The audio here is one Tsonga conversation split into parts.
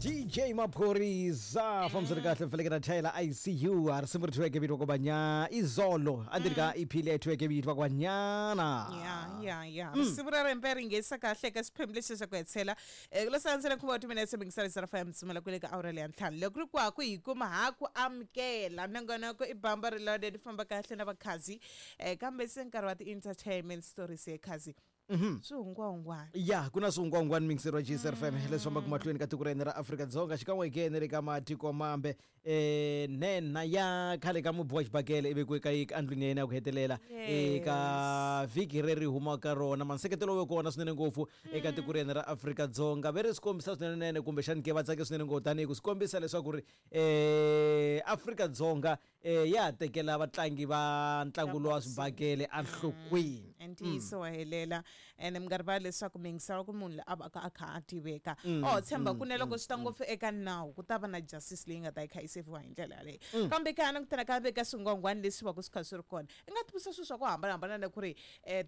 DJ Maphorisa fambisani kahle mfeleke na chayela ICU a risimu ri thyiweke vito kwabanya izolo andzeni ka EP leyi thyiweke vito kwanyana. Ya, risimu ra rembe ri nghenisa kahle eka xiphemu lexi xa ku hetisela. Ku lo sandzela nkhuva wa timinetse mingisarisa ra mtsimela kwele ka awara leya ntlhanu. Loko ri kwaku hi kuma ha ku amukela nongonoko i bamba reloaded, famba kahle na vakhazi. Kambe se nkarhi wa ti-entertainment stories ye khazi, swihungwahungwana. Ya, ku na swihungwahungwani mingiseri wa GSR FM leswi fambaka mahlweni ka tiko ra hina ra Afrika-Dzonga xikan'we ke na le ka matiko mambe. Nhenha ya khale ka mubi wa xibakele i vekiwe ka endlwini ya yena ya ku hetelela eka vhiki reri humaka rona. Manseketelo wu ve kona swinene ngopfu eka tiko ra hina ra Afrika-Dzonga, ve ri swi kombisa swinene kumbexani ke va tsake swinene ngopfu tanihi ku swi kombisa leswaku ri Afrika-Dzonga ya ha tekela vatlangi va ntlangu lowa swibakele enhlokweni. Ntiyiso wa helela, ene mi nga rivali leswaku mi yingisela ku munhu loyi a va ka a kha a tiveka o tshemba ku ne loko swi ta ngopfu eka nawu ku ta va na justice leyi nga ta yi kha yi seviwa hi ndlela yaleyo. Kambe ka langutana ka veka swingwangwani leswi va ku swi kha swi ri kona, i nga tivisa swilo swa ku hambanahambana na ku ri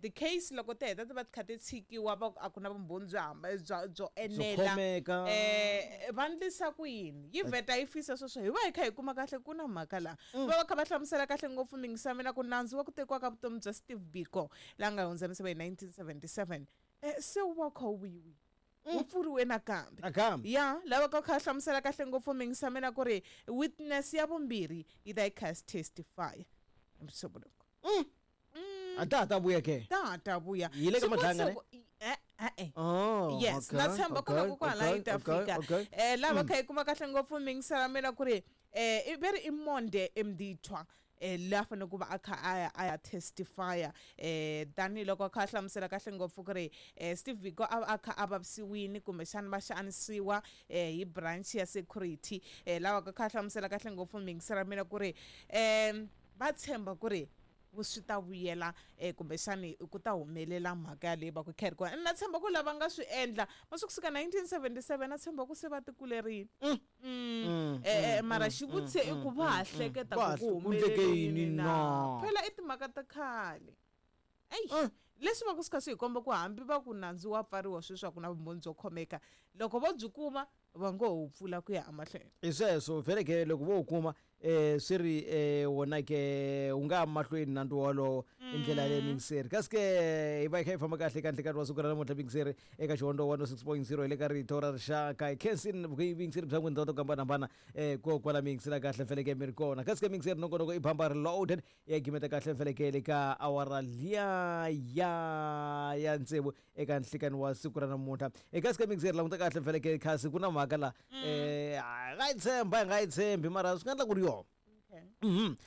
ti-case loko ti heta ti va ti kha ti tshikiwa, va ku a ku na vumbhoni byo hamba byo enela, va ndlisa ku yini yi vheta yi fisa sweswo. Hi va hi kha hi kuma kahle ku na mhaka laha va va kha va hlamusela kahle ngopfu mingisa mina ku nandzu wa ku tekiwa ka vutomi bya Steve Biko la nga hundza emisaveni hi 1977 se wu va wu kha wu vuyiwile, wu pfuriwe nakambe. Nakambe. Ya lava ka kha hlamusela kahle ngopfu mingisa mina ku ri witness ya vumbirhi yi ta yi kha testify hi Musumbhunuko. A ta ha ta vuya ke? Ta ha ta vuya. Yi le ka Madlanga ne? Eh. Oh, yes, na tshemba ku na ku kwala yi ta fika. Lava kha yi kuma kahle ngopfu mingisela mina ku ri i veri i Monde Mdithwa la fanele ku va a kha a ya testifya, tanihiloko a kha a hlamusela kahle ngopfu ku ri Steve Biko a kha a vavisiwini kumbexana va xanisiwa hi branch ya security. Lava ka kha a hlamusela kahle ngopfu mingisela mina ku ri va tshemba ku ri swi ta vuyela, kumbexani ku ta humelela mhaka yaleyi va ku kha yi ri kona. Na tshemba ku lava nga swi endla va swi kusuka 1977, na tshemba ku se va tikulerile. Mara xivutiso i ku va ha hleketa ku ku ku endleke humelele yini yini na? Na? Phela i timhaka ta khale. Eyi, leswi va ku swi kha swi hi komba ku hambi va ku nandzu wa pfariwa sweswi a ku na vumbhoni byo khomeka, loko vo byi kuma va ngo ho pfula ku ya emahlweni. Hi sweswo vhele ke, loko vo wu kuma swi ri wona ke wu nga ya mahlweni nandzu wolowo hi ndlela yaleyo mingiseri. Kasi ke hi va hi kha hi famba kahle ka nhlekani wa siku ra namuntlha mingiseri eka Xihondo 106.0 hi le ka Rito ra Rixaka. Hi khensini vuyingiseri bya n'wina to hambanahambana ko kwala mi yingisela kahle vhele ke mi ri kona. Kasi ke mingiseri, nongonoko i Bamba Reloaded ya gimeta kahle vhele ke le ka awara liya ya tsevu eka nhlikani wa siku ra namuntlha. Eka sika mingiseri, languta kahle vhele ke khasi ku na mhaka la, hi nga yi tshemba hi nga yi tshembi, mara swi nga endla ku ri yona.